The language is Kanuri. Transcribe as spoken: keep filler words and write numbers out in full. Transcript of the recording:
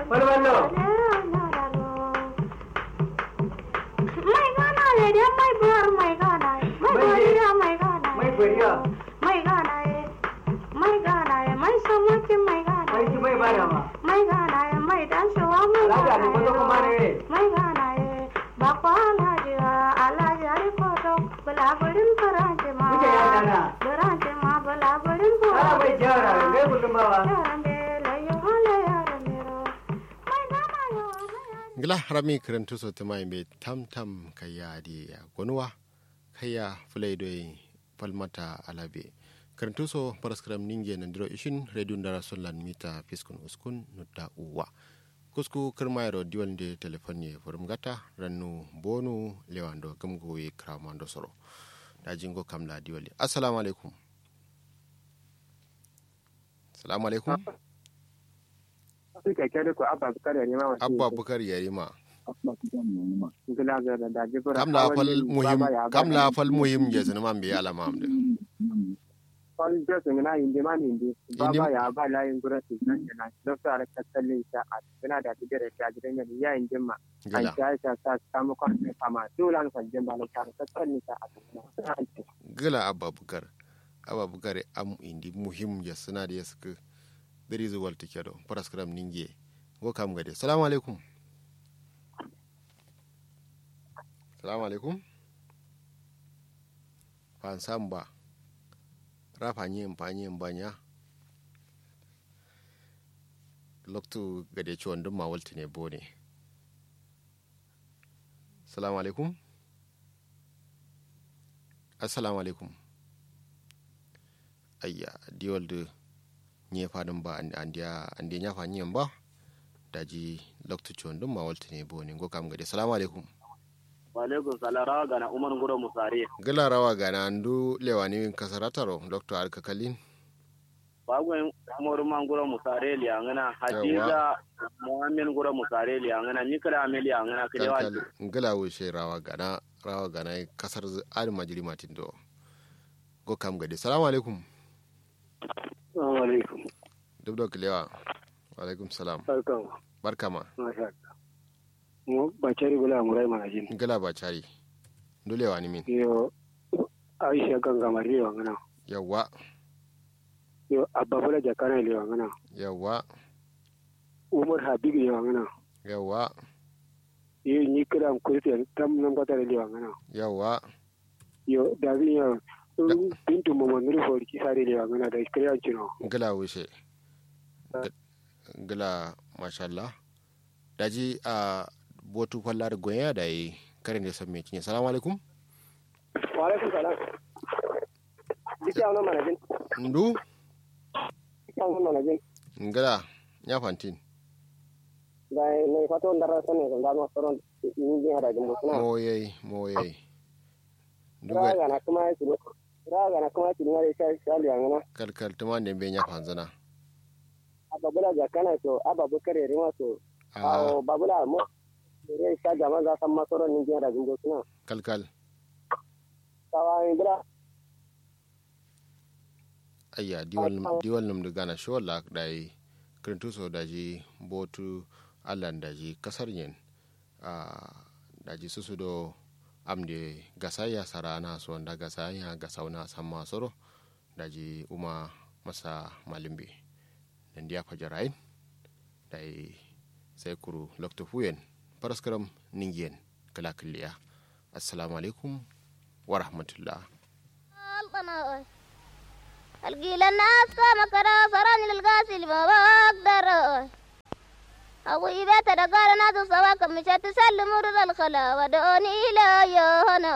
Balballo. Mai gana ye de mai bor mai gana ye. Mai boriya mai gana ye. Mai boriya. Mai gana ye. Mai gana ye mai samaki mai gana ye. Mai ki mai bada ma. Mai gana ye mai dashawa mai gana ye. Mai gana ye. Bakwa alhaji wa alhaji ari koto. Bula burin faranti ma. Wuce ya dana. Faranti ma bula burin faranti ma. Ala bai jara ngai kullum bawa. Yaran de layo hala yaran de ro. Ngla harami kǝrǝntu so tǝma yimbe tam tam kayya adǝ ye ya gonuwa. Kayya fǝlai doi falmata alabe kǝrǝntu so faraskǝram ninge nandiro ishin radio ndara son lan mita fiskun uskun nutta uwa. Kusku kǝrma yero diwal nde telefon ye fǝrǝm gata rannu bonu lewando gǝmgo ye kǝramando soro. Daji ngo kamla diwal ye assalamu alaikum. Assalamu alaikum. Afirka kyade ko abba bukar yarima wa abba bukar yarima. Ngila zara da jibura kam la fal muhim kam la fal muhim je sunu man biya la mam de. Fal je sunu na inde man inde baba ya ba la yin gura su nan yana don sa ra kasalin sa a suna da bidare ta gidan ya inde ma. An gila ta sa sa samu kwan ne fama dulan fal jin ba la ta kasalin sa a suna. Gila abba bukar abba bukar am indi muhim je suna da ya suka. Dǝrizǝ waltǝ kedo faraskǝram ningiye. Ngo kam gade salamu alaikum. Salamu alaikum. Fansamba. Ra fanyi m fanyi m banya. Loktu gade cuwandǝmma waltǝne bone. Salamu alaikum. Assalamu alaikum. Ayya diwal dǝ nye fadǝn ba andiya andiya nya fa nyen ba. Daji loktu cuwandǝmma waltǝne bone ngo kam gade salamu alaikum. Wa alaikum salam rawa gana umar nguro musare. Gǝla rawa gana ndu lewani min kasarataro loktu adǝ kakallin. Bagoyin umar ma nguro musare liyangǝna hadiza. Muhammed nguro musare liyangǝna ni kǝla ame liyangǝna kǝlewa. Ngǝla wushe rawa gana rawa gana kasar adǝ majiri matin do. Ngo kam gade salamu alaikum. Salamu alaikum. Duk do kǝlewa. Wa alaikum salam. Barkama. Barkama. Masha Allah. Ngo bacari bula ngurai manajin. Ngila bacari. Ndu lewa ni min. Yo. Aisha ganga mari lewa ngana. Yawwa. Yo abba bula jakana lewa ngana. Yawwa. Umar habib lewa ngana. Yawwa. Yo ni kira am kurti tam nan kwata lewa ngana. Yawwa. Yo dabi yo. Bintu momo nuru fori ki sare lewa ngana da kira cino. Ngila wushe. Ngila mashallah. Daji a botu falla dǝ gonya dayi. Kare nde somme cinye salamu alaikum. Wa alaikum salam. Dike awno manajin. Ndu. Dike awno manajin. Ngla nya fantin. Dayi nai fato ndara sone ndama soron. Ninjin adajin bosuna. Moyai moyai. Rawa gana kǝma ye cǝni. Rawa gana kǝma ye cǝni ma dai sha sha liyangǝna. Kalkal tǝma nde mbe nya fanzǝna. Abba bula jakana so abba bukar yarima so. Awo babula mo. Re sha jaman za samma soro ninjin adajin bosuna. Kalkal. Sawa min bula. Ayya diwal nǝm diwal nǝm dǝ gana shi walla dayi. Kǝrintu so daji botu. Allan daji kasar nyen. Ahh daji susu do. Amde gasaiya sara'ana so nda gasaiya gasauna samma soro. Daji uma masa malumbe. Nandiya fajarayin. Dayi sai kuru loktu fuyen. Faraskaram ningiyen. Kǝla kǝlliya. Assalamu alaikum. Warahmatullah. Algilan na aska makara sarani lalgasil ma bagdar. Awu ibeta da gara na du sawa kamisha tisallu murur alkhala wa doni ila yohana.